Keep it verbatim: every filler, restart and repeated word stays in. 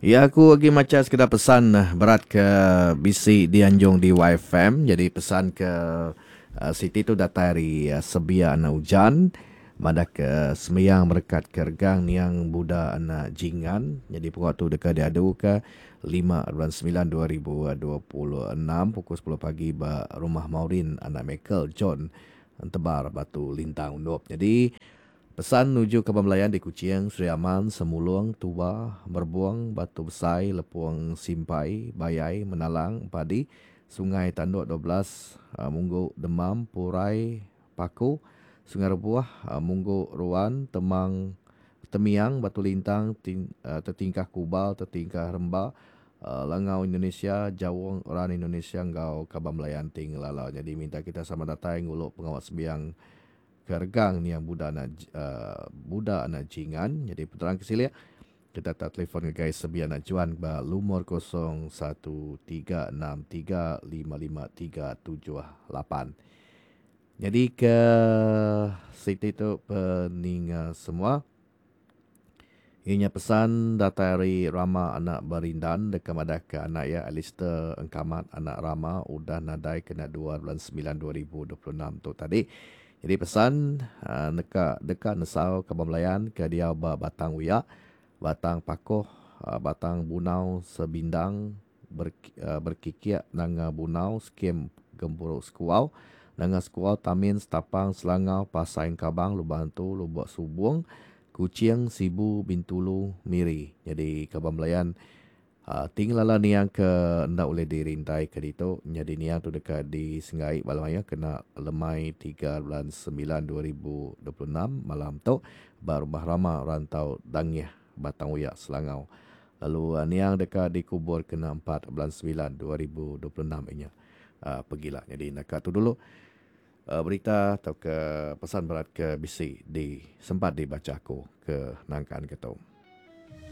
Ya, aku lagi maca sekedar pesan berat ke bisi dianjung di Y F M. Jadi pesan ke uh, Siti tu datai dari uh, Sebia anak Ujan. Madah ke sembiang merekat ke regang niang Buda anak Jingan. Jadi pukul tu dekat diadu ke lima bulan sembilan dua ribu dua puluh enam pukul sepuluh pagi ba rumah Maureen anak Michael John Entebar Batu Lintang Undop. Jadi pesan nuju ke Belayan di Kuching, Sri Aman, Semulung, Tuba, Merbuang, Batu Besai, Lepung Simpai, Bayai, Menalang, Padi, Sungai Tanduk dua belas, Munggu Demam, Purai, Paku, Sungai Rebuah, Munggu Ruan, Temang, Temiang, Batu Lintang, Ting, Tetingkah Kubal, Tetingkah Remba, Langau Indonesia, Jawong, Ran Indonesia, Ngau Kabam Belayan Ting Lala. Jadi minta kita sama datai nguluk pengawal sembiang keregang ni yang Buda anak, uh, Buda anak Jingan. Jadi putaran kesilia kita tak telefon ke guys sebian nak juan ba lumur kosong satu tiga enam tiga lima lima tiga tujuh lapan. Jadi ke Siti tu peninga semua. Inya pesan datai dari Rama anak Berindan dekat madah ke anak ya Alistair Engkamat anak Rama udah nadai kena dua bulan sembilan dua ribu dua puluh enam tu tadi. Jadi pesan uh, neka deka nesau ke Belayan ke dia ba Batang Uya, Batang Pakoh, uh, Batang Bunau Sebindang ber, uh, berkikiak nanga Bunau skim Gempuru Sekuau, nanga Sekuau Tamin Setapang Selangau Pasai Kabang Lubang Tu Lubok Subung, Kuching Sibu Bintulu Miri. Jadi ke Belayan uh, tinggal niang ke ndak boleh dirintai ke ditu. Jadi niang tu dekat di Sengai Balmaya kena lemai tiga bulan sembilan dua ribu dua puluh enam malam tu baru Rama rantau Dangih Batang Uyak Selangau. Lalu uh, niang dekat dikubur kena empat bulan sembilan dua ribu dua puluh enam inya uh, pergilah. Jadi nak tu dulu uh, berita atau ke pesan berat ke bisi di sempat dibaca aku ke nangkan ke tu.